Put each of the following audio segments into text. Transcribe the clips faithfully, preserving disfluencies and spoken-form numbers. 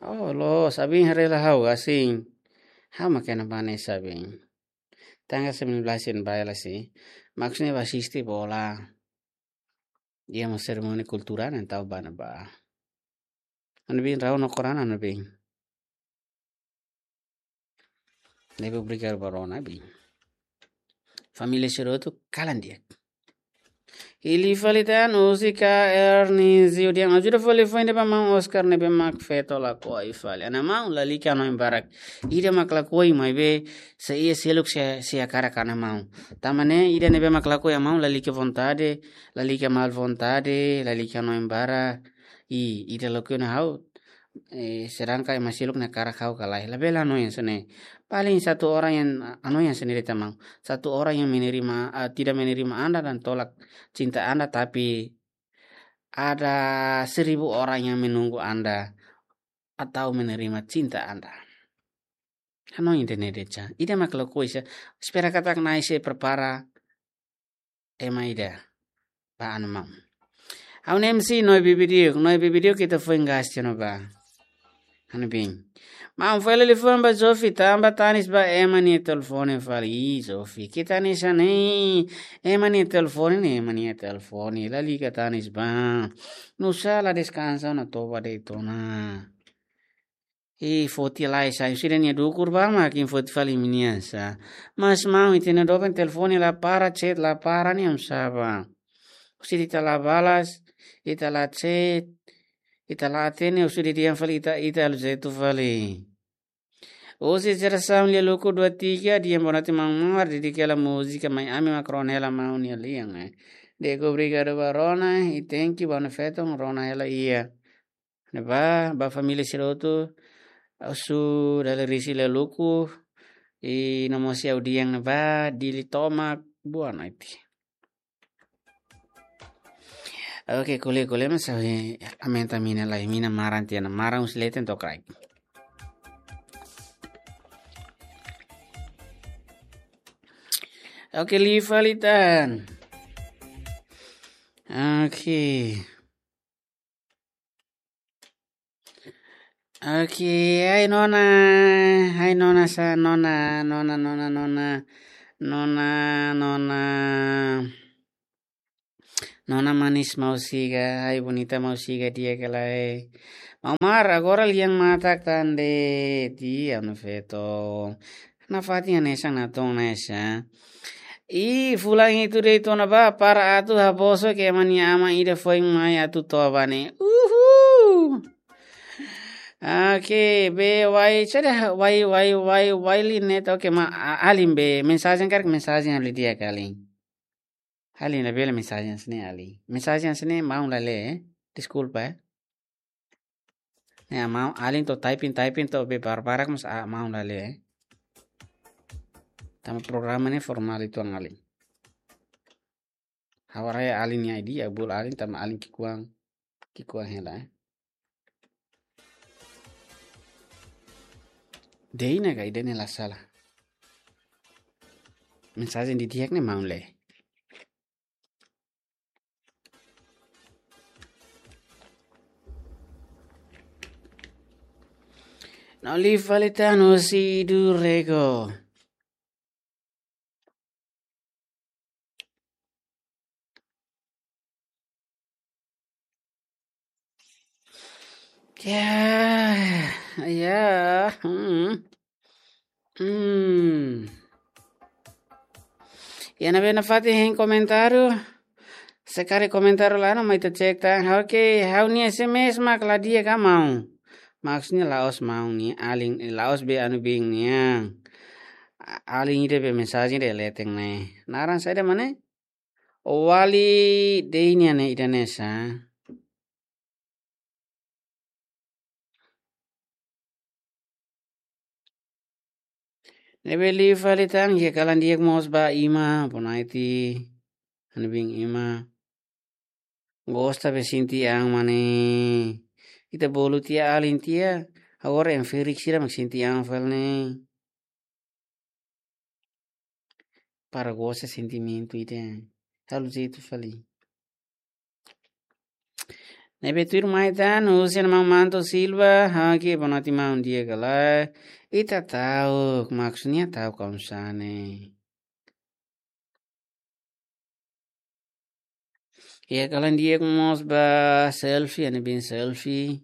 Oh, loos, abin haree hela ha'u, asin. Ha'u mak iha ne'ebá ne'e, asin. Tanggal sembilan belas iha ne'ebá hela, asin. Maksudnya bá asiste bola. Iha mós serimónia kulturál ne'e tau bá ne'ebá. Anu bin rau no korana anu bin. Ne'ebé obrigadu ba rona bin. Família sira hotu kalan di'ak. Liu fali tan, Oscar Ernizio dehan ajuda fali foin ida ba maun Oscar ne'ebé mak feto lakohi fali. Ha'u-nia maun lalika hanoin barak. Ida mak lakohi maibé sei iha seluk se, se hakarak ha'u-nia maun. Tanba ne'e ida ne'ebé mak lakohi ha'u-nia maun lalika vontade, lalika mal vontade, lalika hanoin barak. I, ida lakohi ona ha'u, eh, sedangkan ema seluk ne'e hakarak ha'u ka lae. Labele hanoin hanesan ne'e. Paling satu orang yang hanoin hanesan ne'e de'it maun. Satu orang yang menerima, ah, tidak menerima Anda dan tolak cinta Anda, tapi ada seribu orang yang menunggu Anda atau menerima cinta Anda. Hanoin ida-ne'e de'it. Ida mak lakohi sá. Espera katak Na'i sei prepara ema ida ba ha'u-nia maun. Ha'u-nia M C, Noe Bibidiuk, Noe Bibidiuk ita foin gas tiha ona ba. Ha'u-nia bin. Maun fali liafuan ba Zofi, tanba tanis ba ema nia telefone fali. Ih, Zofi, keta hanesan ne'e. Ema nia telefone ne'e, ema nia telefone. Lalika tanis ba. Nusá la deskansa ona toba de'it ona. I foti lai sá, husi ida-ne'e dukur ba mak imi foti fali imi-nian sá. Mas maun, ita-nia doben telefone la para, chat la para, ne'e oinsá bá? Husi ita la balas, ita la chat, ita la atende, husi ida dehan fali ita, ita halo jeitu fali. Husi jerasaun Lia Luku dua tiga, dehan boa noite maun Mar, dedika hela múzika Mai Ami mak rona hela maun nia lian, eh. Di'ak, obrigadu ba rona, i thank you ba ha'u-nia feton, rona hela iha. Ne'ebá, ba família sira hotu, husu dala risi Lia Luku, i no mós iha audiénsia ne'ebá, Dili tomak, boa noite. Oke, ko'alia, ko'alia, mas ha'u aumenta mina lai, mina maran tiha ona, maran husi leten to'o kraik. Oke, liu fali tan. Oke. Oke, hai nona, hai nona sá, nona, nona, nona, nona, nona, nona. Nona manis Mausiga, hai bonita Mausiga di'ak ka lae. Maun Mar, agora lian matak tan de'it, ha'u-nia feton. Nafatin hanesan natoon hanesan. I fulan hitu de'it ona bá, para atu habosok ema nia aman ida foin mai atu toba ne'e. Uhul. Oke, be wai, sada wai, wai, wai, wai linet. Oke, ma, a-, alin be, mensajen karik mensajen halo di'ak alin. Alin labele mensajen hanesan ne'e alin. Mensajen hanesan ne'e maun la lee, eh. Deskulpa, eh. Ne'e maun alin to'o typing, typing to'o be barbarak mas a maun la lee, eh. Tanba programa ne'e formál uitoan alin. Ha'u haree alin nia I D, ha'u bolu alin tanba alin ki'ikoan, ki'ikoan hela, eh. Deina ka ida-ne'e la sala. Mensajen didi'ak ne'e maun lee. No liu fali tan husi Durego. Ya, ya, hmm. Hmm. Ya, ne'ebé nafatin hein komentáriu. Se karik komentáriu la iha, mai ita cek tan. Oke, ha'u-nia S M S mak la di'ak ka maun. Maksudnya la'ós maun nia alin, la'ós be anu bin nian. A-, alin ida be mensajen ida leten ne'e. Naran saida mak ne'e? Wali Deinian ne'e ida-ne'e sá. Ne'ebé liu fali tan, iha kalan di'ak mós ba Ima, bonaiti, ha'u-nia bin Ima. Gosta be sente an mak ne'e. Ita bolu tiha alin tiha, agora em ferik sira mak sente an fali ne'e. Para gosta sentimentu ida. Halo jeitu fali. Ne'ebé tuirmai tan, husi maun Manto Silva, oke, boa noite maun, di'ak ka lae. Ita ta'uk, maksudnya ta'uk kaum sane. Iha kalan di'ak mós ba Selfie, ha'u-nia biin Selfie.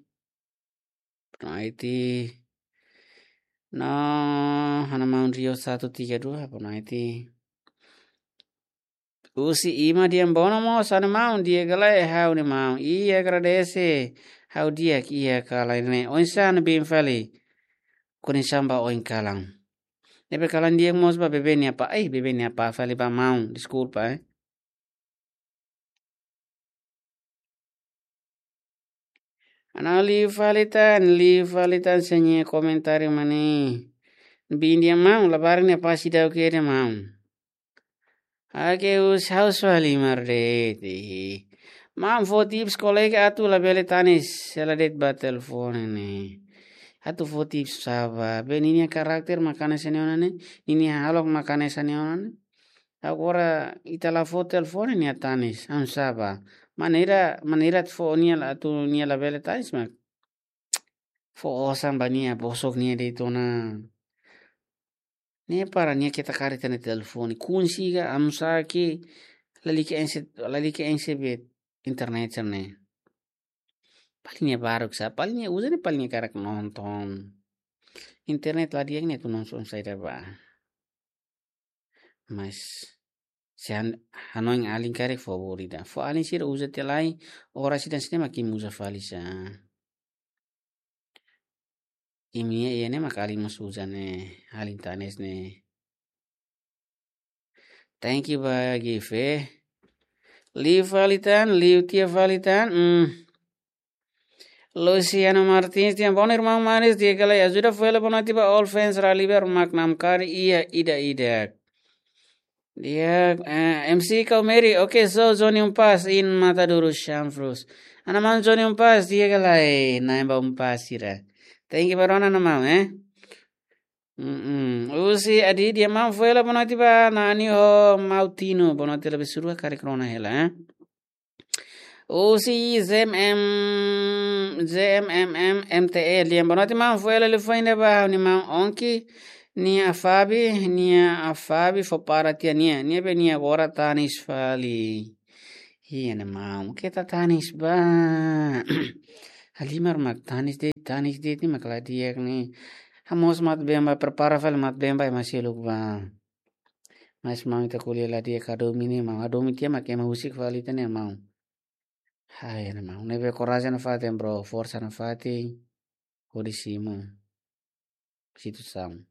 Boa noite. No, ha'u-nia maun Rio satu tiga dua, boa noite. Husi Ima Diambono mós, ha'u-nia maun, di'ak ka lae, ha'u-nia maun. Iha agradese, ha'u di'ak, iha kalan ne'e. Oinsá ha'u-nia biin fali. Kuni samba oin kalan. Ne'ebé kalan di'ak mós ba bebé nia apá. Eh, bebé nia apá fali ba maun. Deskulpa, eh. Ha'u-nia liu fali tan, liu fali tan, sira-nia komentáriu mak ne'e. Biin nia maun, labarik nia apá seidauk iha ida maun. Oke, husi ha'u só halimar de'it. Maun fó tips kolega atu labele tanis, hela de'it ba telefone ne'e. Atu fó tips sá ba, be ninia karakter mak hanesan ne'e ona ne'e, ninia hahalok mak hanesan ne'e ona ne'e. Agora ita la fó telefone nia tanis, oinsá ba. Maneira, maneira atu fó nia la, atu nia labele tanis mak. Fó osan ba nia, bosok nia de'it ona. Ne'e para nia keta kaer ita-nia telefone. Kunsi ka, oinsá ke, lalika enxe, lalika enxe be internet sira-ne'e. Paling nia baruk sá, paling nia uza ne'e paling nia hakarak nonton. Internet la di'ak ne'e atu nonton saida ba. Mas, se han-, hanoin alin karik fó bolu ida. Fó alin sira uza tiha lai, oras ida sira mak imi uza fali sá. Imi-nia iha ne'e mak alin mós uza ne'e, alin tanis ne'e. Thank you ba Gife. Liu fali tan, liu tiha fali tan. Hmm. Luciano Martins, di'ak, bom irmão Maris, di'ak ka lae, ajuda fó hela boa noite ba all fans Rally Beer mak namkari iha ida-idak. Di'ak, eh, M C Kaumeri, oke, so Johnny Umpas in Matadouro Chanfrus. Ha'u-nia maun Johnny Umpas, di'ak ka lae, na'in ba Umpas sira. Thank you ba rona ha'u-nia maun, eh. Mm-mm. Husi Adi, di'ak maun, fó hela boa noite ba Nani ho Mautino, boa noite, labele surua karik rona hela, eh. Husi Z M M, Z M M M M T L, di'ak, boa noite maun, fó hela liafuan ida ba ha'u-nia maun Onki, nia Afabi, nia Afabi fó para tiha nia, nia be nia agora tanis fali. Iha ne'e maun, keta tanis ba. Halimar mak tanis de'it, tanis de'it ne'e mak la di'ak ne'e. Ha'u mós mak been ba, prepara fali mak been ba ema seluk ba. Mas maun, ita ko'alia la di'ak, hadomi ne'e maun, hadomi tiha mak ema husik fali ita ne'e maun. Hai, ne'e maun. Ne'ebé korajen nafatin, bro. Forsa nafatin. Hodi simu situasaun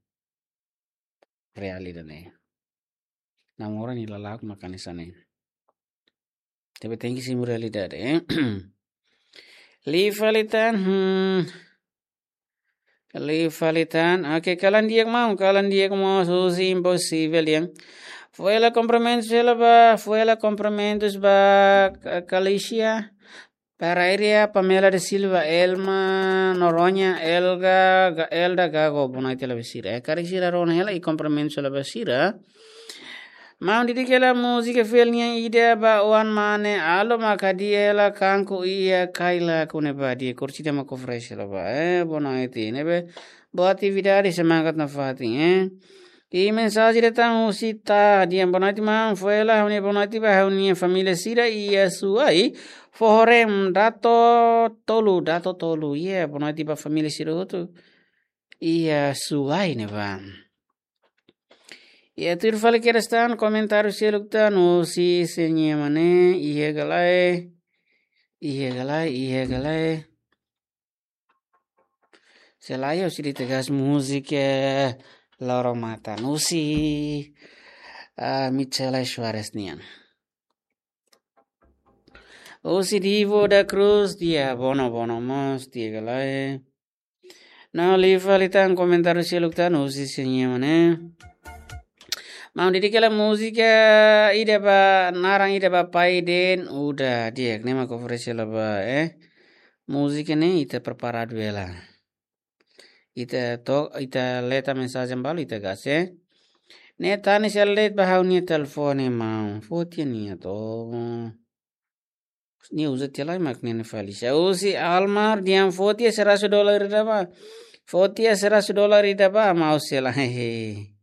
realidade ne'e. Namora nia lala'ok mak hanesan ne'e. Tapi tenke simu realidade, eh. Liu fali tan, hmm. Liu fali tan. Oke, kalan di'ak maun, kalan di'ak maun, husi Impossível, di'ak. Fó hela kumprimentus hela ba, fó hela kumprimentus ba Ka-, Kalisia. Para Iria, Pamela da Silva, Elma Noronha, Elga, Ga-, Elda Gago, boa noite hela ba sira. Eh, karik sira rona hela, i kumprimentus hela ba sira. Maun, didik hela múzika fiel nian ida ba oan mane, alo mak hadi'a hela kanku iha kaila kune ba, di'ak, kursida mak oferese hela ba. Eh, boa noite, ne'ebé boa atividade, semangat nafatin, eh. I mensajen datang husi Ta, di'ak, boa noite maun, fó hela ha'u-nia boa noite ba ha'u-nia família sira iha Suai, Fohorem, Dato Tolu, Dato Tolu, iha, boa noite ba família sira hotu iha Suai ne'ebá. Iha tuir fali kedas tan, komentáriu seluk tan, husi sira-nia mane, iha ka lae, iha ka lae, iha ka lae. Se lae, husi di tegas múzika, eh, Loro Mata, husi, ah, Michele Soares nian. Husi Divo da Cruz, di'ak, bono, bono mós, di'ak ka lae. No, liu fali tan komentáriu seluk tan, husi sira-nia mane. Maun, didik hela múzika ida ba, naran ida ba Pai De'it Uda, di'ak, ne'e mak oferese hela ba, eh. Múzika ne'e ita preparadu hela. Ita to, ita leta mensajen balu ita gase. Ne'e tanis hela de'it ba ha'u-nia telefone maun. Fó tiha nia to. Nia uza tiha lai mak ne'e fali. Husi Almar, di'ak, fó tiha seratus dolar ida bá. Fó tiha seratus dolar ida bá, maun sela. Hehe.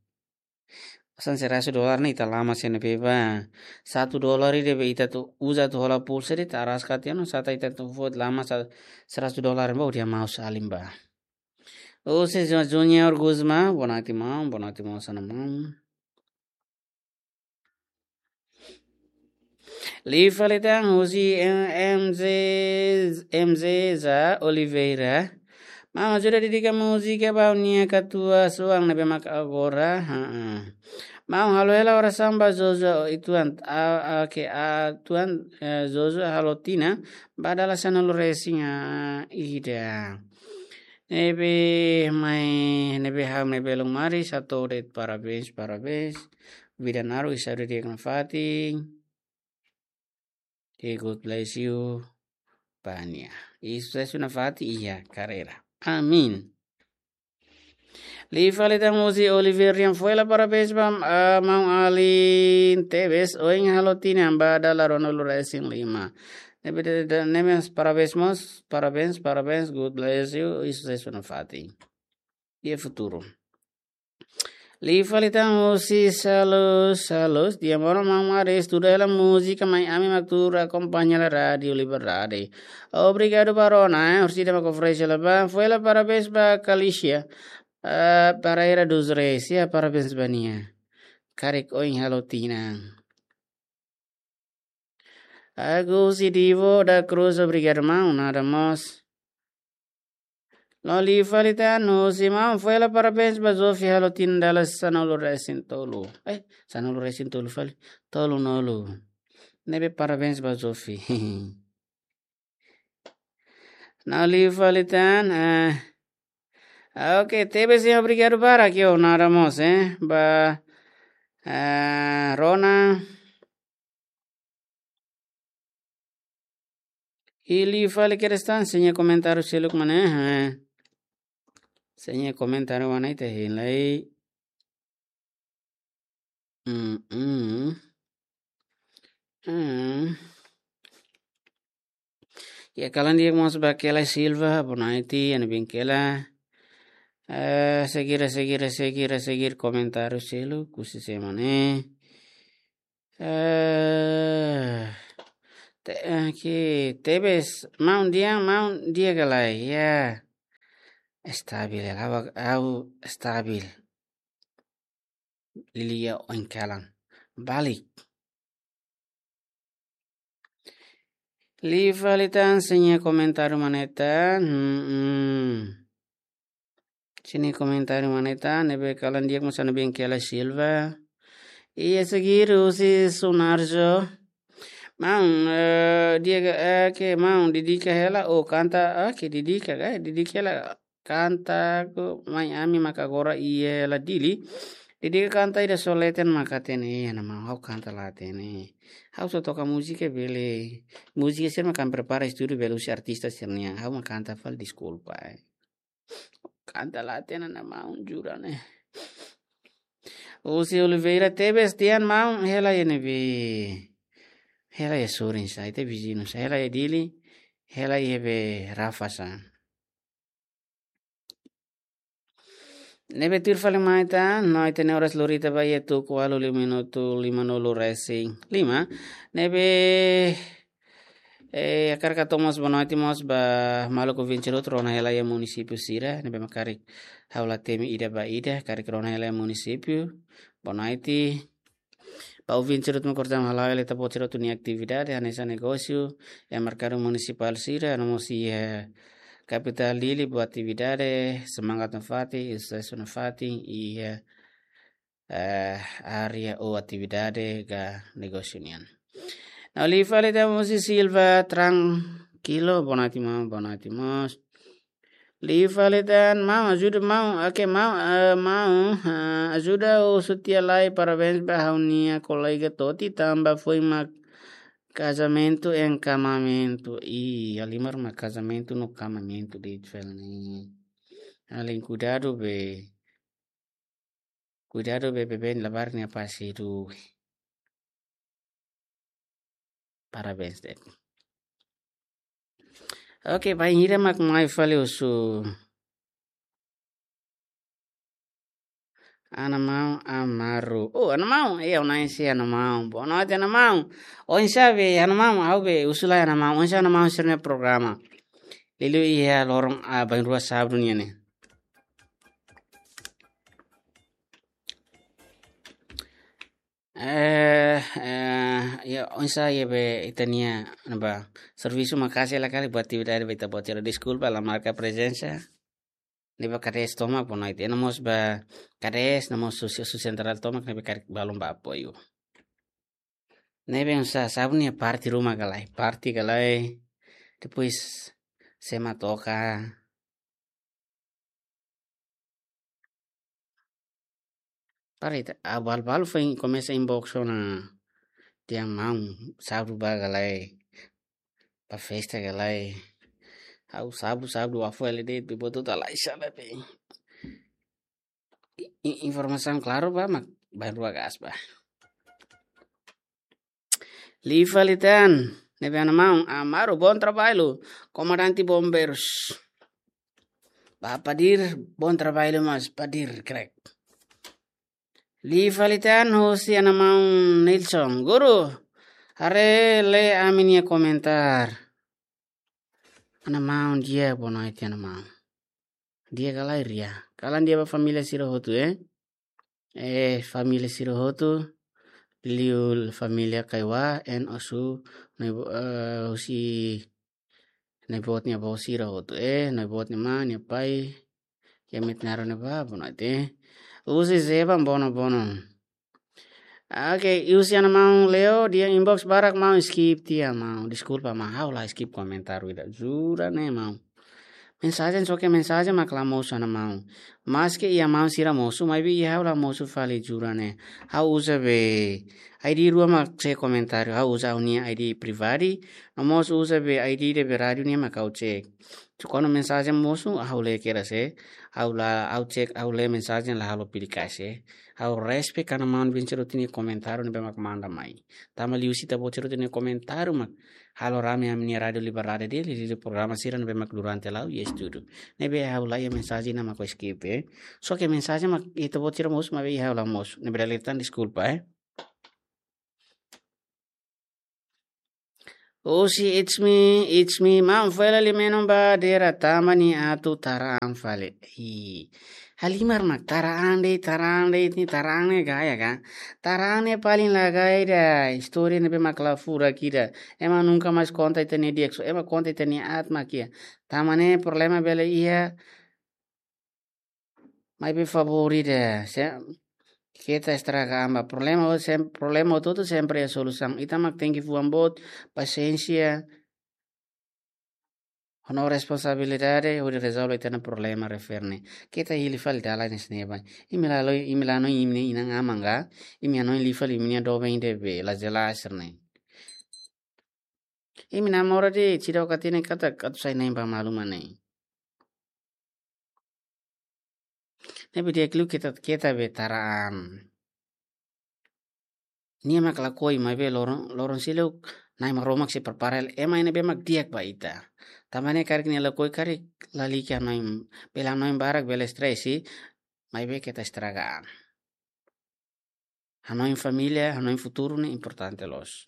Osan seratus dolar ne'e ita lama sene pe bá. Satu dolar ida be ita atu uza atu hola pulsa de'it, araska tiha ona, sata ita atu fó lama sa-, seratus dolar bá, di'ak maun Salim bá. Husi Ju-, Junior Guzmán, boa noite maun, boa noite maun, osan maun. Liu fali tan husi M-, M Z, M Z za Oliveira. Maun ajuda dedika múzika ba ha'u-nia katuas-oan ne'ebé mak agora. Haa. Maun halo hela orasaun ba Jojo ituan, a, a, ke a tuan, eh, Jojo halo tinan ba dala sanulu resin, ah, ida. Ne'ebé mai, ne'ebé ha'u ne'ebé lun mari, satu det parabéns, parabéns. Vida naruk, saúde di'ak nafatin. E God bless you, ba nia. I susesu nafatin iha karreira. Amin. Liu fali tan husi Oliver Rian, fó hela parabéns ba, ah, maun alin tebes, ohin halo tinan ba dala ruanulu resin lima. Ne'ebé de, de, ne'e mós parabéns mós, parabéns, parabéns, God bless you, i susesu nafatin. Iha futuru. Liu fali tan husi Salus, Salus, di'ak maun, maun mari estuda hela múzika, mai ami mak tuur akompaña hela Rádiu Liberdade. Obrigadu ba Rona, eh, orsida mak oferese hela bá, fó hela parabéns ba Kalisia. Ah, Paraira dos Reis, ya, parabéns ba nia. Karik ohin halo tinan. Agus Idivo da Cruz, obrigadu maun, nada mós. No liu fali tan husi maun, fó hela parabéns ba Zofi halo tinan dala sanulu resin tolu. Eh, sanulu resin tolu fali. Tolunulu. Ne'ebé parabéns ba Zofi. No liu fali tan, eh, ah, oke, tebes ya, obrigadu barak, yo, nada mós, eh, ba, eh, Rona. I liu fali kedas tan, sira-nia komentáriu seluk mak ne'e, eh. Sira-nia komentáriu mak ne'e ita hein lai. Mm, mm. Mm. Ya, kalan di'ak mós ba Kela Silva, boa noite, iha ne'ebé Kela. Eh, seguir, seguir, seguir, seguir komentáriu seluk, husi sé mak ne'e. Eh, te-, eh, ke tebes, maun di'ak, maun di'ak ka lae, ya. Estabil, ya, ha'u, ha'u estabil. Lilia oin kalan. Balik. Liu fali tan sira-nia komentáriu mak ne'e tan. Hmm, hmm. Sira-nia komentáriu mak ne'e tan, ne'ebé kalan di'ak mós iha ne'ebé Kela Silva. Iha seguir husi Sunarjo. Maun, eh, di'ak, eh, ke maun dedika hela, oh, kanta, ah, ke dedika, eh, dedika hela. Kanta ku mai ami mak agora iha hela Dili. Dedika kanta ida só leten mak hatene, eh, na maun ha'u kanta la hatene. Ha'u só toka múzika bele. Múzika sira mak ami prepara estúdiu bele husi artista sira-nian. Ha'u mak kanta fali, deskulpa, eh. Kanta la hatene na maun, jura ne'e. Husi Oliveira tebes tiha maun, hela iha ne'ebé. Hela iha sorin sá, ita viziñu sá, hela iha Dili, hela iha be Rafa sá. Ne'ebé tuir fali mai tan, no ita-nia oras lori ita ba iha tuku ualu liu minutu limanulu resin lima. Ne'ebé, eh, hakarak hato'o mós boa noite mós ba maluk ouvinte hotu rona hela iha munisípiu sira, ne'ebé mak karik ha'u la temi ida ba ida, karik rona hela iha munisípiu. Boa noite. Ba ouvinte hotu mak kordam hala'o hela ita-boot hotu nia atividade, hanesan negósiu, iha merkadu munisipál sira, no mós iha kapitál Dili, boa atividade, semangat nafatin, susesu nafatin, iha, eh, área ou atividade ka negósiu nian. No liu fali tan husi Silva, tranquilo, boa noite maun, boa noite mós. Liu fali tan, maun, ajuda maun, oke, maun, eh, maun, eh, ajuda husu tiha lai, parabéns ba ha'u-nia kolega Toti, tanba foin mak kazamentu en kamamentu. Ih, halimar mak kazamentu no kamamentu de'it fali ne'e. Alin, kuidadu be. Kuidadu be, be, be, labarik ne'e apa sih tu. Parabéns de'it. Oke, bainhira mak mai fali husu. Ana Maun Amaru. Oh, Ana Maun. Iya, ona ese Ana Maun. Boa noite, Ana Maun. Oinsá be, Ana Maun, ha'u be husu lai Ana Maun. Oinsá Ana Maun sira-nia programa. Liuliu iha loron, ah, bainrua sábadu nian ne'e. Eh, eh, ya, oinsá iha be ita-nia, ne'ebá, servisu maka'as hela kali buat atividade be ita-boot sira, deskulpa, la marka prezensa. Ne'ebá kades tomak bonoite. Ena mós ba kades, ena mós husi, husi sentrál tomak, ne'ebé karik balun ba apoiu. Ne'ebé oinsá, sábadu ne'e parte ruma ka lae, parte ka lae. Depois, sé mak toka. Para ita, ah, balu-balu foin komesa inbox ona. Dehan maun, sábadu ba ka lae, ba festa ka lae. Ha'u sábadu, sábadu ba fali de'it, be buat hotu halai sala be. I-, i-, informasaun klaru ba, mak bainrua kaas ba. Liu fali tan, ne'ebé Ana Maun, Amaru, bom trabalho, komandante bombeirus. Ba Padir, bom trabalho, mas Padir, crack. Liu fali tan, husi Ana Maun Nilson, guru, haree lee ami-nia komentar. Ana Maun, di'ak, bonoite Ana Maun. Di'ak ka lae, Ria? Kalan di'ak ba família sira hotu, eh? Eh, família sira hotu, liuliu família Kaiwa, en osu, nai bo-, eh, husi nai-boot nia avó sira hotu, eh, nai-boot nia mãe, nia pai, iha Metinaro ne'ebá, bonoite. Husi Zeba, bono, bono. Oke, husi Ana Maun Leo, dehan inbox barak maun skip tiha maun. Deskulpa maun, ha'u la skip komentar ida. Jura ne'e maun. Mensajen, só ke mensajen mak la mosu Ana Maun. Maske iha maun sira mosu, maibé iha ha'u la mosu fali, jura ne'e. Ha'u uza be I D rua mak cek komentáriu, ha'u uza ha'u-nia I D pribadi, no mós uza be I D ida be rádiu nian mak ha'u cek. Kuandu mensajen mosu, ha'u lee kedas, eh. Ha'u la, ha'u cek, ha'u lee mensajen, la halo pidi kasi, eh. Ha'u respect Ana Maun Vincent Rotini komentáriu ne'ebé mak manda mai. Tanba liuhusi ita-boot sira-nia komentáriu mak halo rame ami-nia Rádiu Liberdade de'it, liuliu programa sira ne'ebé mak durante la'o iha estúdiu. Ne'ebé ha'u la iha mensajen ne'e mak ha'u skip, eh. Só ke mensajen mak ita-boot sira mosu, maibé iha ha'u la mosu. Ne'ebé dala ida tan deskulpa, eh. Husi It's Me, It's Me, maun fali liu menon ba Dera tanba nia atu taraan fali. Ih, halimar mak taraan de'it, taraan de'it, nia taraan ne'e gaya ka. Taraan ne'e paling la gaya ida, istória ne'ebé mak la furak ida. Ema nunka mais konta ita-nia di'ak, só ema konta ita-nia aat mak iha. Tanba ne'e problema bele iha, maibé favór ida, se, keta estraga an ba. Problema hotu sem-, problema hotu-hotu sempre iha solusaun. Ita mak tenke fuan boot, pasiénsia, ho responsabilidade, hodi rezolve ita-nia problema refere ne'e. Keta hili fali dalan ne'e sira-ne'e ba. Imi la hanoin, imi la hanoin imi-nia inan-aman ka, imi hanoin liu fali imi-nia doben ida be la jelas sira-ne'e. Imi namora de'it, seidauk hatene katak atu sai na'in ba malu mak ne'e. Ne'ebé di'ak liu keta, keta be taraan. Nia mak lakohi, maibé loron, loron seluk Na'i Maromak sei prepara hela ema ne'ebé mak di'ak ba ita. Tanba ne'e karik nia lakohi karik lalika hanoin, bele hanoin barak, bele stress, maibé keta estraga an. Hanoin família, hanoin futuru ne'e importante loos.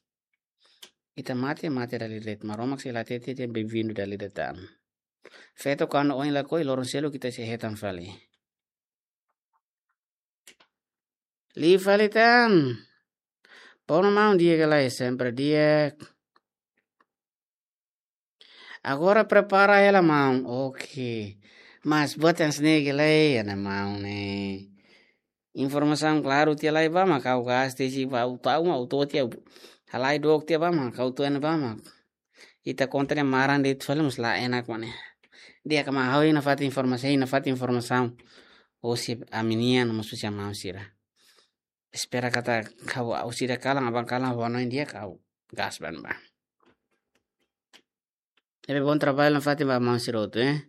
Ita mate, mate dala ida de'it. Maromak sei la hatete dehan bem-vindo dala ida tan. Feto kuandu ohin lakohi, loron seluk ita sei hetan fali. Liu fali tan. Bono maun, di'ak ka lae, sempre di'ak. Agora prepara hela maun. Oke. Mas buat hanesan ne'e ka lae, Ana Maun ne'e. Informasaun klaru tiha lai ba mak ha'u gasta, se ba ha'u tau mak ha'u to'o tiha. Halai dook tiha ba mak ha'u to'o iha ne'ebá mak ita konta ne'e maran de'it fali mós la enak mak ne'e. Di'ak ka maun, ha'u hein nafatin informasaun, hein nafatin informasaun. Husi ami-nian, mós husi Ana Maun sira. Espera katak ha'u, ha'u sira kalan, aban kalan, ha'u hanoin di'ak, ha'u gas ba ne'ebá. Ne'ebé bom trabalho nafatin ba maun sira hotu, eh.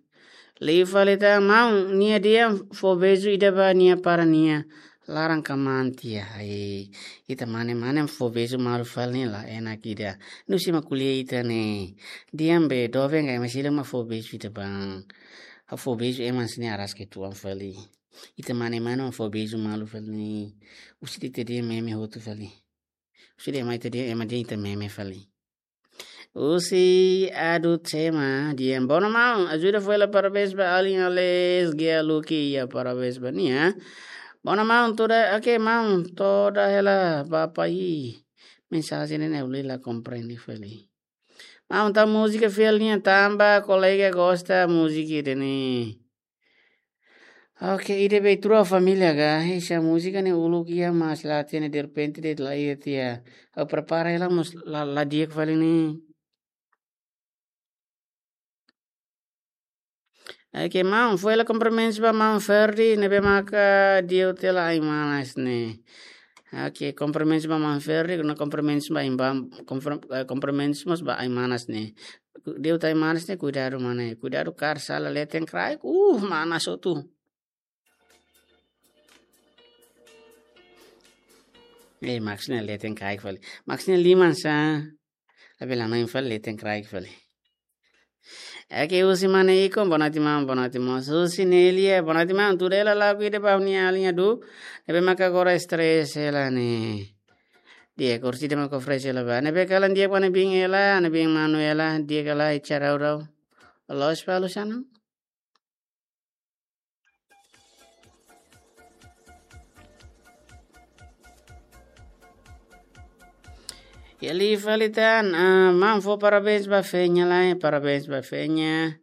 Liu fali tan maun, nia dehan fó beijo ida ba nia para nia Laran kamaan tiha, ai. Ita mane-mane fó beizu malu fali ne'e la enak ida. Nu'usá mak ko'alia ita ne'e. Di'ak be, doben ka, ema sira mak fó beizu ita bá. Ha'u fó beizu ema sira ne'e araska uitoan fali. Ita mane-mane fó beizu malu fali ne'e. Husi ita dehan meme hotu fali. Husi dehan ema ita dehan, ema dehan ita meme fali. Husi Adu Tema, dehan: "Boa noite, maun. Ajuda fó hela parabéns ba alin Alex Gia Luki, ya, parabéns ba nia. Boa noite, maun, tuda, oke, maun, tuda hela ba pai." Mensajen ne'e ha'u la komprende fali. Maun, tau múzika fiel nian tanba kolega gosta múzika ida-ne'e. Oke, ida be trua família ga. Esa múzika ne'e uluk iha, mas la hatene, derrepente de'it la iha tiha. Ha'u prepara hela mós la, la di'ak fali ne'e. Oke, maun, fó hela kumprimentus ba maun Ferdi, ne'ebé maka di'ak tiha ai-manas ne'e. Oke, kumprimentus ba maun Ferdi, no kumprimentus ba ain-ba, kumprim-, eh, kumprimentus mós ba ai-manas ne'e. Di'ak tiha ai-manas ne'e, kuidadu mana, kuidadu karik sala leten kraik, uh, manas hotu. Eh, maksudnya leten kraik fali. Maksudnya liman sá. Tapi la noin fali, leten kraik fali. Oke, husi mana ikon, boa noite maun, boa noite maun. Husi Nelia, boa noite maun. Tuda hela lagu ida ba ha'u-nia alin Adu. Ne'ebé maka agora stress hela ne'e. Di'ak, kursi ida maka fresh hela ba. Ne'ebé kalan di'ak ba ne'ebé hela, ne'ebé manu hela, di'ak ka lae, carau rau. Los palu sana. Ya, liu fali tan, ah, maun fó parabéns ba Fenya lai, parabéns ba Fenya.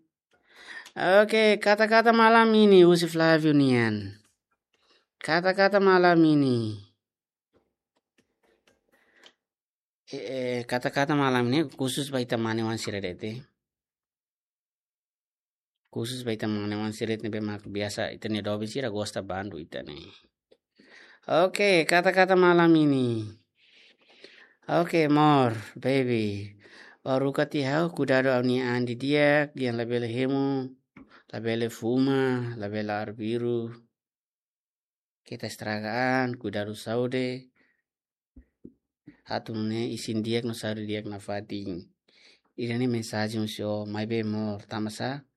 Oke, kata-kata malam ini, husi Flavio nian. Kata-kata malam ini. Eh, eh, kata-kata malam ini khusus ba ita mane-oan sira de'it. Khusus ba ita mane-oan sira de'it ne'ebé mak biasa ita-nia doben sira gosta bandu ita ne'e. Oke, kata-kata malam ini. Oke, amor, baby. Ó haruka tiha ha'u, kuidadu ha'u-nia an didi'ak, dehan labele hemu, labele fuma, labele arbiru. Keta estraga an, kuidadu saúde. Atu nune'e isin di'ak no saúde di'ak nafatin. Ida-ne'e mensajen husi ó, maibé amor, tanbasá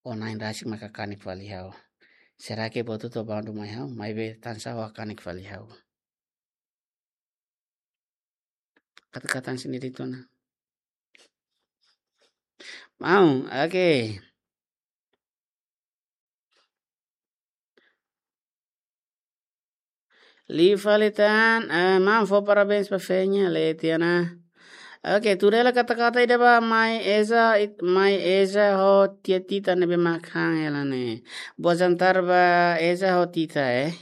ó na'in rasik maka hakanek fali ha'u. Será que buat hotu bandu mai ha'u, maibé tansá ó hakanek fali ha'u. Kata-kata sendiri tu na. Maun, oke. Liu fali tan, eh, maun fó parabéns ba Fenya, leten ona. Oke, tuda hela kata-kata ida ba Mai Eza, it-, Mai Eza ho Tia Tita ne'ebé mak han hela ne'e. Boa jantar ba Eza ho Tita, eh.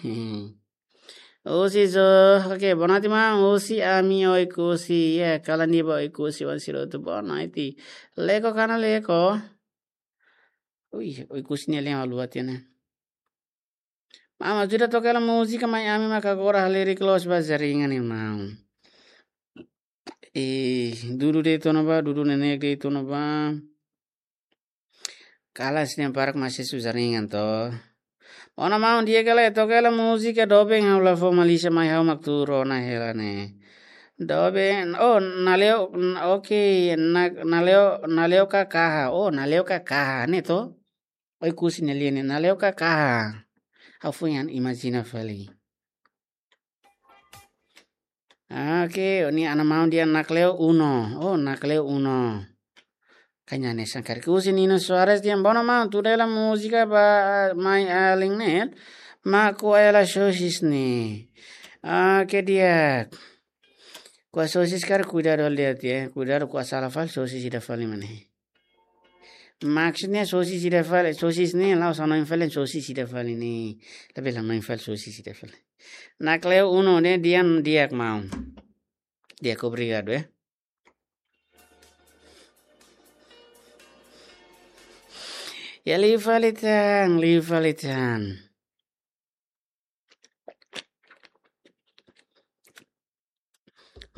Husi zo, oke, boa noite maun, husi ami Oekusi, ya, kalan di'ak ba Oekusi-oan sira hotu, boa noite. Leko ka la leko. Ui, Oekusi nia lian haluha tiha ona. Maun, ajuda toka hela múzika Mai Ami maka agora halerik loos ba jaringan ne'e maun. Eh, dudu de'it ona ba, dudu neineik de'it ona ba. Kalas ne'e barak maka sira jaringan to. Ona maun, di'ak ka lae, toka hela múzika doben ha'u la fó malísia mai ha'u mak tuur ona hela ne'e. Doben, oh, Naleo, n-, oke, na-, Naleo, Naleo ka kaha, oh, Naleo ka kaha, ne'e to? Oekusi nia lian ne'e, Naleo ka kaha. Ha'u foin an imajina fali. Oke, ne'e ana maun dehan Nakleo Uno. Oh, Nakleo Uno. Kanya ne sangkar. Husi Nino Soares dehan, bono maun, tuda hela múzika ba Mai Alin ne'e. Mak ko'a hela sosis ne'e. Oke, di'ak. Ko'a sosis karik kuidadu hela de'it, ya. Kuidadu ko'a sala fali sosis ida fali mak ne'e. Maksudnya sosis ida fali, sosis ne'e la'ós hanoin fali, sosis ida fali ne'e. Tapi la hanoin fali sosis ida fali. Nakleo Uno ne'e dehan di'ak maun. Di'ak, obrigadu, eh. Ya, liu fali tan, liu fali tan.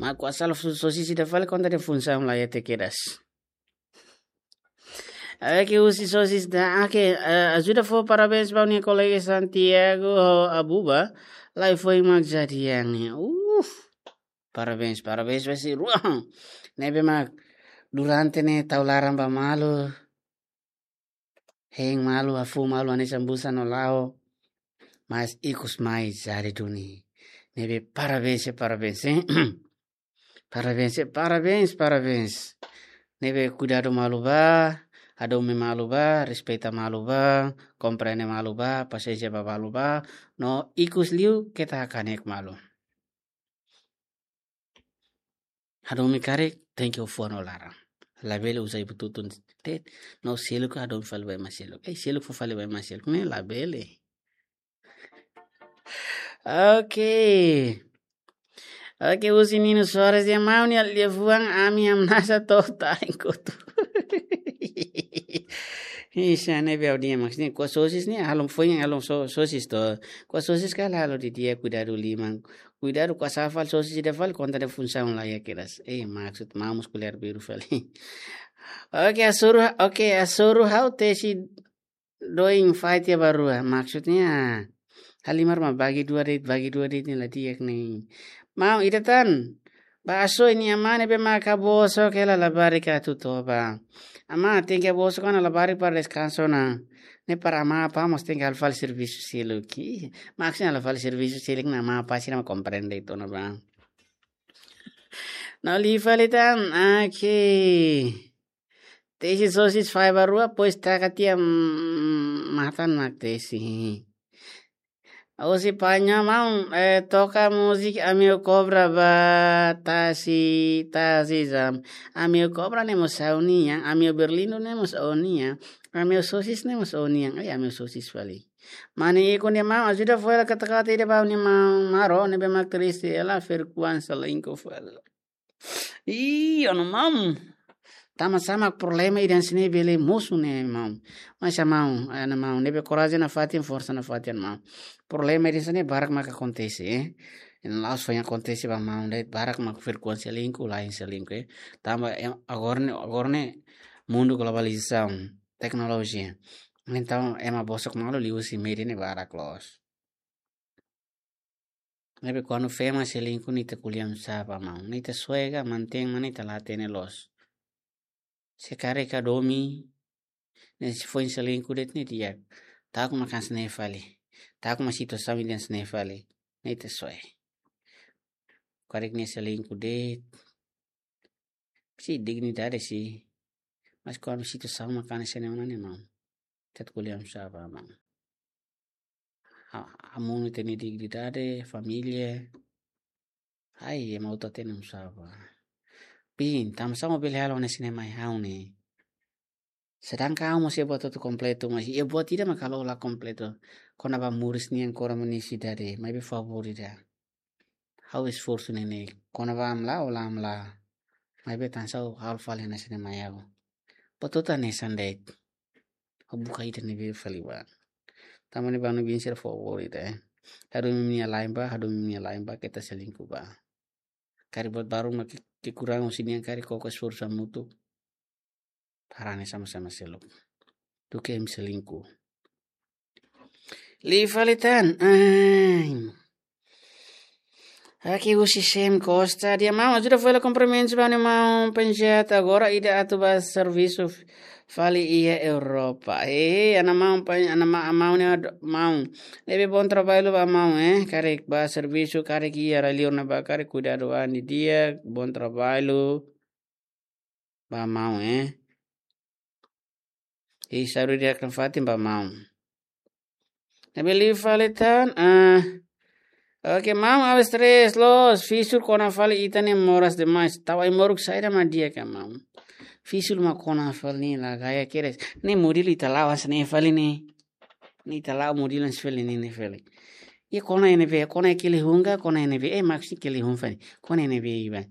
Mak ko'a sala so-, sosis ida fali konta de'it funsaun la iha te kedas. Oke, husi sosis ida. Oke, eh, ajuda fó parabéns ba nia kolega Santiago ho Abuba. Lai foi mak jadi yang ni. Uf. Parabéns, parabéns ba sira rua. Ne'ebé mak durante ne'e tau laran ba malu. Hein malu, hafoun malu, hanesan busa no la'o. Mas ikus mai jadi duni. Ne'ebé parabéns, eh, parabéns, eh. Parabéns, eh, parabéns, parabéns. Ne'ebé kuidadu malu bá, hadomi malu bá, respeita malu bá, komprende malu bá, pasiénsia ba malu bá, no ikus liu keta hakanek malu. Hadomi karik, tenke fó no laran. Labele uza ibu tutun de'it, no seluk hadomi fali ba ema seluk. Eh, seluk fó fali ba ema seluk. Ne'e labele. Oke. Oke, husi Nino Soares dehan maun nia liafuan ami hamnasa to'o tain kotu. Ih, sá ne'ebé ha'u dehan maksudnya, kuas sosis ne'e, halo foin halo so-, sosis to. Kuas sosis ka halo didi'ak, kuidadu liman. Kuidadu kuas sa'e fali sosis ida fali konta de'it funsaun laiha kedas. Eh, maksud maun mós ko'alia biru fali. Oke, hasoru, oke, hasoru ha'u tesi doin fahe tiha ba rua. Maksudnya, halimar mak bagi dua de'it, bagi dua de'it ne'e la di'ak ne'e. Maun ida tan, ba asoru nia amá ne'ebé mak bosok hela labarik atu toba. Amá tenke bosok ona labarik para deskansa ona. Ne'e para amá apá mós tenke halo fali servisu seluk. Maksudnya halo fali servisu seluk, amá apá sira mak komprende ona bá. No liu fali tan, oke. Tesi sosis fahe ba rua, depois taka tiha, mm, matan mak tesi. Husi Panha maun, eh, toka múzika Amiu Kobra ba tasi, tasi zam. Amiu Kobra ne'e mós ha'u-nian, Amiu Berlindo ne'e mós ha'u-nian, Amiu Sosis ne'e mós ha'u-nian. Ai, Amiu Sosis fali. Mane ikun dehan maun, ajuda fó hela kata-kata ida ba ha'u-nia maun Maro, ne'ebé mak triste hela, Ferkuan selingkuh fali. Ih, ó-nia maun. Tanba sá mak problema ida hanesan ne'e bele mosu ne'e maun. Mas maun, eh, maun, ne'ebé korajen nafatin, forsa nafatin maun. Problema ida hanesan ne'e barak mak akontese, eh. Entaun la'ós foin akontese ba maun de'it, barak mak Ferkuan selingkuh, lain selingkuh, eh. Tanba, eh, agora ne'e, agora ne'e mundu globalizasaun, teknolojia. Entaun ema bosok malu liuhusi média ne'e barak loos. Ne'ebé kuandu fema selingkuh ne'e ita ko'alia oinsá ba maun. Ne'e ita soe ka mantein mak ne'e ita la hatene loos. Se karik hadomi, ne'e se foin selingkuh de'it ne'e di'ak. Ta'uk mak hanesan ne'e fali. Ta'uk mak situasaun ida hanesan ne'e fali. Ne'e ita soe. Karik nia selingkuh de'it. Sei dignidade sei. Mas kuandu situasaun mak hanesan ne'e ona ne'e maun. Ita ko'alia oinsá ba maun. Ha, hamosu ita-nia dignidade, família. Ai, ema hotu hatene oinsá ba. Bin, tanba sá mak bele halo hanesan ne'e mai ha'u ne'e. Sedangkan ha'u mós iha buat hotu kompletu, mas iha buat ida mak halo la kompletu. Kona-ba moris nian, kona-ba nia sidade, maibé favór ida. Ha'u esforsu neineik, kona-ba hamlaha, la hamlaha. Maibé tansá ha'u halo fali hanesan ne'e mai ha'u. Buat hotu hanesan de'it. Ha'u buka ida ne'ebé fali ba. Tanba ne'e ba no bin sira favór ida, eh. Hadomi nia la'en ba, hadomi nia la'en ba, keta selingkuh ba. Karik buat balu mak ke-, kekurangan husi nia karik koko esforsu hamutuk. Para nia sama-sama seluk. Duké imi selingkuh. Liu fali tan. Ai. Oke, husi Sem Costa. Dehan maun, ajuda fó hela kumprimentus ba ha'u-nia maun Panjat. Agora ida atu ba servisu f-, fali iha Europa. Eh, ha'u-nia maun Pan-, ha'u-nia ma-, maun ne'e ad-, maun. Ne'ebé bom trabalho ba maun, eh. Karik ba servisu, karik iha rai-liur ne'ebá, karik kuidadu an didi'ak, bom trabalho ba maun, eh. Ih, saru di'ak nafatin ba maun. Ne'ebé liu fali tan, ah. Oke, maun, ha'u stress loos, Fisul kona fali ita ne'e moras demais. Tau ai-moruk saida mak di'ak ka maun. Fisul mak kona fali ne'e la gaya kedas. Ne'e modelu ita la'o hanesan ne'e fali ne'e. Ne'e ita la'o modelu hanesan fali ne'e, ne'e fali. Iha kona iha ne'ebé, kona iha kelehun ka, kona iha ne'ebé, eh, maksudnya kelehun fali. Kona iha ne'ebé iha ba.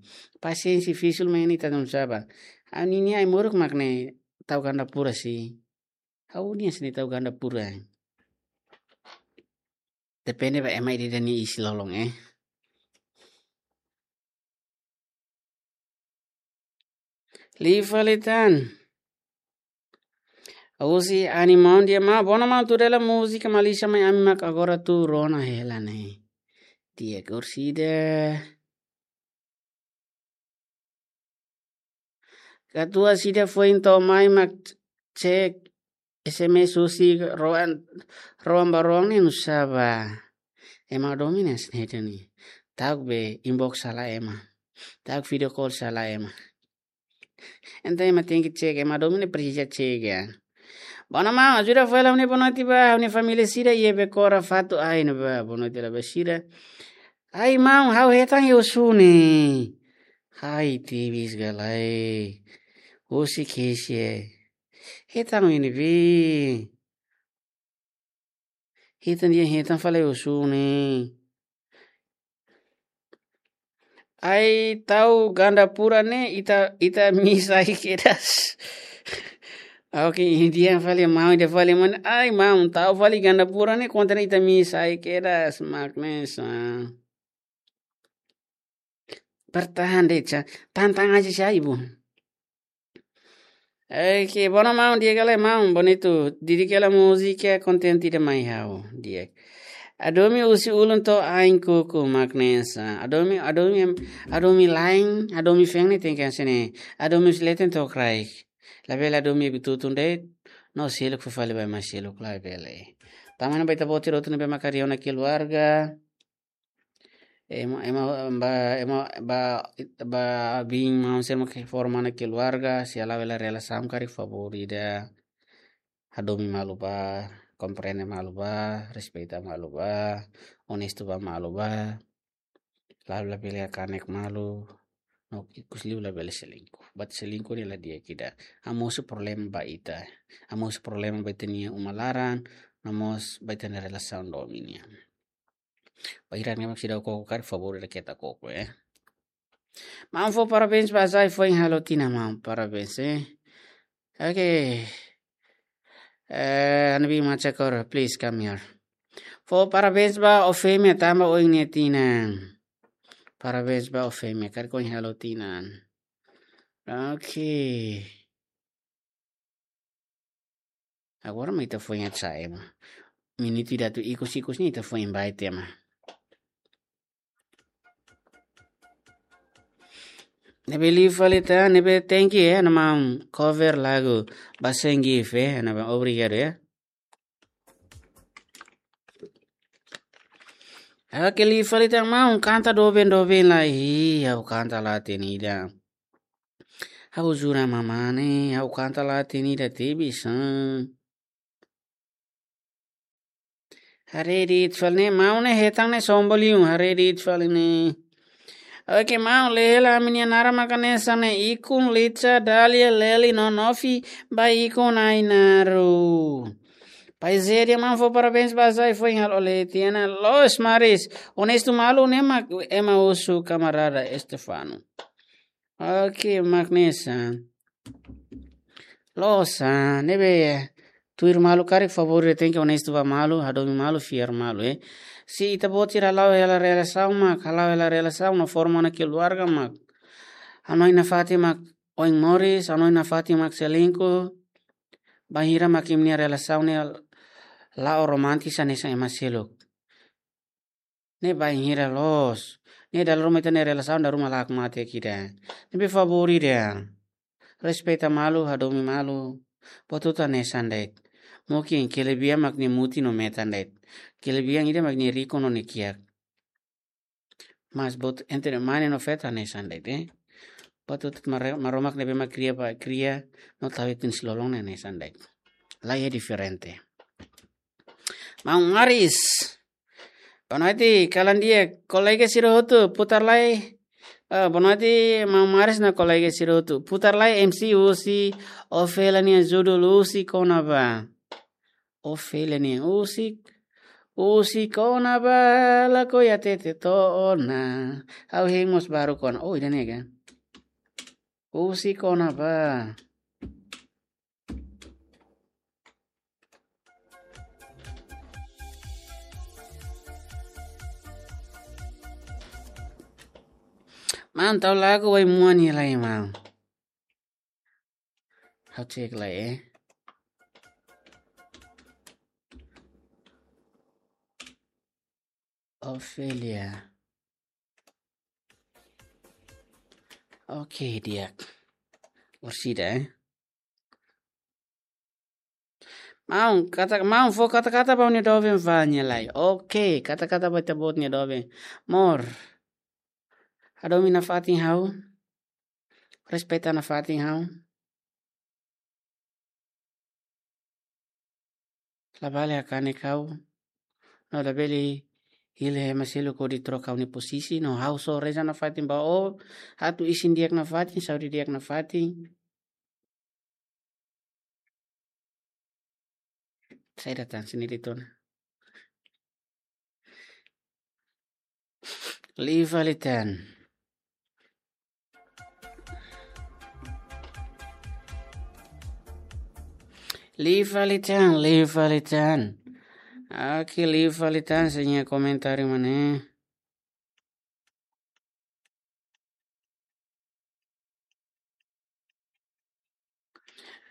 Pasiénsia Fisul mak ne'e ita tun saba. Ha'u-nia ai-moruk mak ne'e tau ganda pura sei. Ha'u-nia sei ne'e tau ganda pura. Depende ba ema ida-idak nia isin lolon, eh. Liu fali tan. Husi Ani Maun dehan: Maun, bona maun, tuir hela múzika Malísia mai, ami mak agora tuur ona hela ne'e. Di'ak, orsida. Katuas ida foin to'o mai mak cek S M S husi Roan, Roan Baroang ne'e nusá ba. Ema domin es ne'e tani. Ta'uk be inbox hela ema. Ta'uk video call hela ema. Entaun ema tenke cek, ema domin ne'e presiza cek, ya. Bona maun, ajuda fó hela ha'u-nia bonoite ba, ha'u-nia família sira iha Bekora, Fatu, Ain ba, bonoite hela ba sira. Ai maun, ha'u hetan iha Osu ne'e. Ai tebes ka lae. Osi kesi e. Hetan iha ne'ebé? Hetan dehan hetan fali Osu ne'e. Ai tau Gandapura ne'e ita, ita miss ai kedas. Oke, ida fali maun, ida fali maun. Ai maun, tau fali Gandapura ne'e kontra ita miss ai kedas, mak ne'e sa. Bertahan de'it sa. Tantang aja sa ibu. Oke, bona maun, di'ak ka lae maun, bonitu. Didik hela múzika, kontente ida mai ha'u, di'ak. Hadomi husi ulun to'o ain kuku, mak ne'e sa. Hadomi, hadomi, hadomi la'en, hadomi feen ne'e tenke hanesan ne'e. Hadomi husi leten to'o kraik. Labele hadomi iha tutun de'it, no seluk fó fali ba ema seluk, labele. Tanba ne'e ba ita-boot sira hotu ne'ebé mak harii ha'u-nia keluarga. Ema, ema, ba, ema, ba, ba biin maun sira mak forma ha'u-nia keluarga, se ha'u hela relasaun karik favór ida, hadomi malu bá, komprende malu bá, respeita malu bá, onestu bá malu bá. Labele kanek malu, no ikus liu labele selingkuh. Buat selingkuh ne'e la di'ak ida. Hamosu problema ba ita. Hamosu problema ba ita-nia uma laran, no mós ba ita-nia relasaun domin nian. Bainhira ne'e mak seidauk koko karik, favór ida keta koko, eh. Maun, fó parabéns ba Azai foin halo tinan, maun, parabéns, eh. Oke. Eh, Anabi Machakor, please come here. Fó parabéns ba Ofemia tanba ohin nia tinan. Parabéns ba Ofemia, karik ohin halo tinan. Oke. Agora mak ita foin acha ema. Minutu ida atu ikus-ikus ne'e ita foin invite ema. Ne'ebé liu fali tan, ne'ebé thank you, eh, nia maun, cover lagu Ba Sengif, eh, nia maun, obrigadu, eh. Oke, liu fali tan maun, kanta doben-doben lai, ha'u kanta la hatene ida. Ha'u jura mamane, ha'u kanta la hatene ida tebes, eh. Haree de'it fali ne'e, maun ne'e hetan ne'e sombra liu, haree de'it fali ne'e. Oke, maun, lee hela, ami-nia naran mak hanesan ne'e: Ikun, Lica, Dália, Leli, no Nofi, ba Ikun Ainaru. Pai Zé dehan maun fó parabéns ba Azai foin halo leten ona, loos Maris, onestu malu ne'e mak ema husu kamarada Estefano. Oke, mak ne'e sa. Loos, ah, ne'ebé, eh, tuir malu karik favór ida tenke onestu ba malu, hadomi malu, fiar malu, eh. Se ita-boot sira hala'o hela relasaun mak, hala'o hela relasaun no forma ha'u-nia keluarga mak. Hanoin nafatin mak oin moris, hanoin nafatin mak selingkuh. Bainhira mak imi-nia relasaun ne'e la'o romantis hanesan ema seluk. Ne'e bainhira loos. Ne'e dala ruma ita-nia relasaun dala ruma la hakmatek ida. Ne'ebé favór ida. Respeita malu, hadomi malu. Buat hotu hanesan de'it. Mungkin kelebihan mak nia mutin no metan de'it. Kelebihan ida mak nia rikun no nia kiak. Mas buat entre mane no feto hanesan de'it, eh. Buat hotu Mare-, Maromak ne'ebé mak kria ba kria no tau iha tinan lolon ne'e hanesan de'it. La iha diferente. Maun Maris. Boa noite, kalan di'ak, kolega sira hotu, putar lai. Ah, boa noite, maun Maris no kolega sira hotu. Putar lai M C husi Ofélia nian judul Husi Kona-ba. Ofélia nian husi, husi kona-ba, lakohi hatete to'o ona. Ha'u hein mós baru kona. Oh, ida-ne'e ka? Husi kona-ba. Maun, tau lagu Wai Muan iha lai, maun. Ha'u cek lai, eh. Ofelia. Oke, di'ak. Orsida, eh. Maun, kata, maun fó kata-kata ba ó-nia doben fali lai. Oke, kata-kata ba ita-boot nia doben. Amor. Hadomi nafatin ha'u. Respeita nafatin ha'u. Labele hakanek ha'u. No labele hili ema seluk hodi troka ha'u-nia posisi. No ha'u só reza nafatin ba ó. Atu isin di'ak nafatin, saúde di'ak nafatin. Saida tan sini di tona. Liu fali tan. Liu fali tan, liu fali tan. Oke, liu fali tan, sira-nia komentáriu mak ne'e.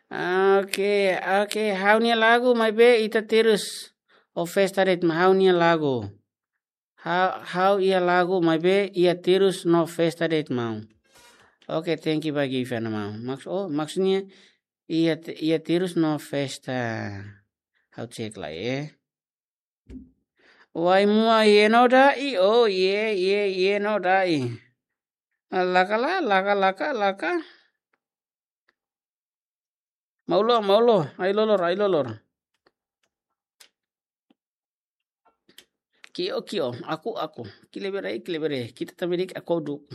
Oke, oke, ha'u-nia lagu maibé ita terus. Ó festa de'it mak ha'u-nia lagu. Ha-, ha'u iha lagu maibé iha terus no festa de'it maun. Oke, thank you ba gift ne'e maun. Maks-, oh, maksudnya iha te-, iha terus no festa. Ha'u cek lai, eh. Wai mua iha no dai, oh, iha, iha, iha no dai. Laka la, laka, laka, laka. Maun lo, maun lo, ai-lolor, ai-lolor. Ki'o, ki'o, aku, aku. Kilebere, kilebere. Kita também dik aku duk.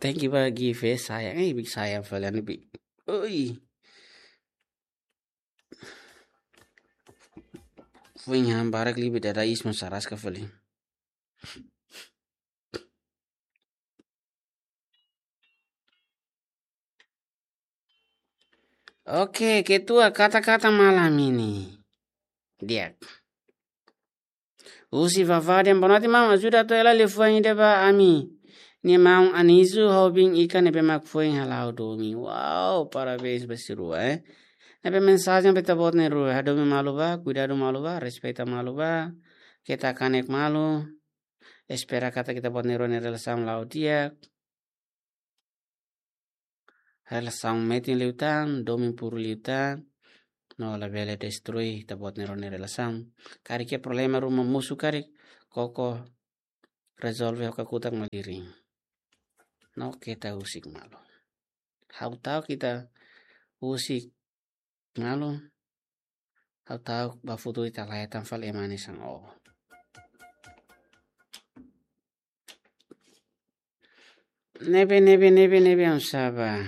Thank you ba gift, eh, sayang, eh, big sayang fali ne'e, big. Oi. Foin han barak liu, beda da isma saraska fali. Oke, ketua, kata-kata malam ini. Di'ak. Husi Vavá dehan, boa noite, maun. Ajuda atu hela liafuan ida ba ami-nia maun Anisu, hobin ikan ne'ebé mak foin hala'o domin. Wow, parabéns ba sira rua, eh. Ne'ebé mensajen ba ita-boot na'in-rua, hadomi malu bá, kuidadu malu bá, respeita malu bá, keta hakanek malu, espera katak ita-boot na'in-rua nia relasaun la'o di'ak. Relasaun metin liután, domin puru liután, no labele destrui ita-boot na'in-rua nia relasaun. Karik iha problema ruma mosu karik, koko rezolve ho kakutak malirin. No keta husik malu. Ha'u ta'uk ita husik malu. Ha'u ta'uk ba futuru ita la hetan fali ema hanesan ó. Ne'ebé, ne'ebé, ne'ebé, ne'ebé, oinsá bá.